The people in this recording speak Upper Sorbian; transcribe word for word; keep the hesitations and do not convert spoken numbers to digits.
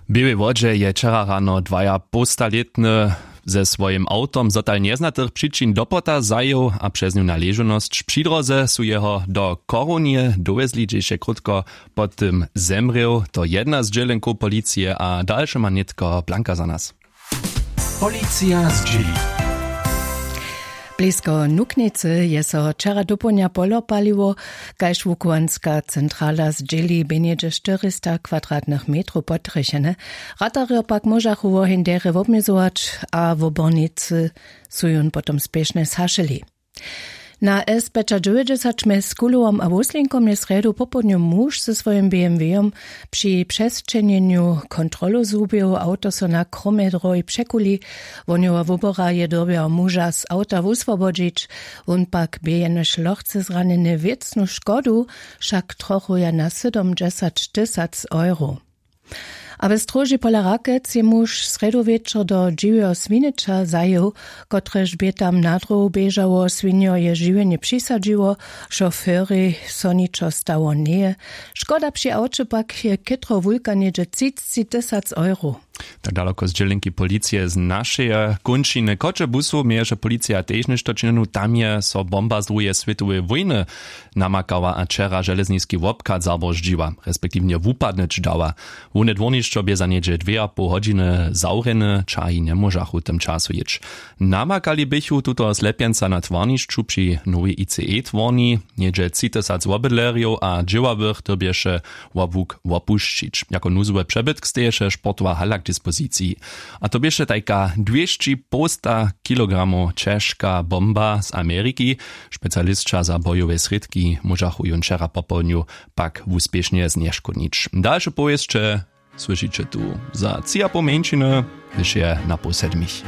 W běłej wodźe je wčera rano dwajapołstalětny ze swojim awtom z dotal njeznatych přičin do płota zajěł a přez nju na ležownosć při dróze su jeho do chorunje dowjezli, hdźež je krótko po tym zemrěł. To jedna z dźělenkow policije a dalše ma nětko blanka za nas. Policija zdźěli. Blisko nuknicy je so wčera dopołdnja polopaliło, kaž wuchowanska centrala zdźěli bě něhdźe štyrista kwadratnych metrow potrjechene. Ratarjo pak móžachu woheń derje wobmjezować a wobornicy su jón potom spěšnje zhašili. Na s pjećadźewjećdźesat mjez kulowom a wóslinkom je srjedu popołdnju muž ze swojim bmw-jom při přesćenjenju kontrolu zhubjeł. Awto so na kromje drohi překuli. Wohnjowa wobora je dyrbjał muža z awta wuswobodźić. Wón pak bě jenož lochce zranjeny. Wěcnu škodu wšak trochu je na sydomdźesat tysac euro. A we stróži pola rakec je muž srjedu wječor do dźiweho swinjeća zajěł, kotrež bě tam na dróhu běžało. Swinjo je žiwjenje přisadźiło, šoferjej so ničo stało njeje. Škoda při awće pak je chětro wulka něhdźe třicci tysac euro. Tak daloko z dźělenki policije z našeje kónčiny. W choćebuzu měješe policija tež něšto činjenu. Tam je so bomba z druheje swětoweje wójny namakała a wčera železniski wobchad zabroždźiła, respektiwnje wupadnyć dała. Hłowne dwórnišćo bě za něhdźe dwě a poł hodźiny zawrjene, čahi njemóžachu w tym času jěć. Namakali běchu tutoho slepjenca na twarnišću při nowej ice twarni. Něhdźe tři tysac wobydlerjow a dźěławych dyrbješe wobłuk wopušćić. Jako nuzowy přebytk steješe sportowa hala k dispoziciji. A to běše tajka dwěsći połsta kilogramow ćežka bomba z ameriki. Specialisća za bojowe srědki móžachu jón wčera popołdnju pak wuspěšnje znješkódnić. Dalše powěsće słyšiće tu za tři a poł mjeńšiny, hdyž je na poł sedmich.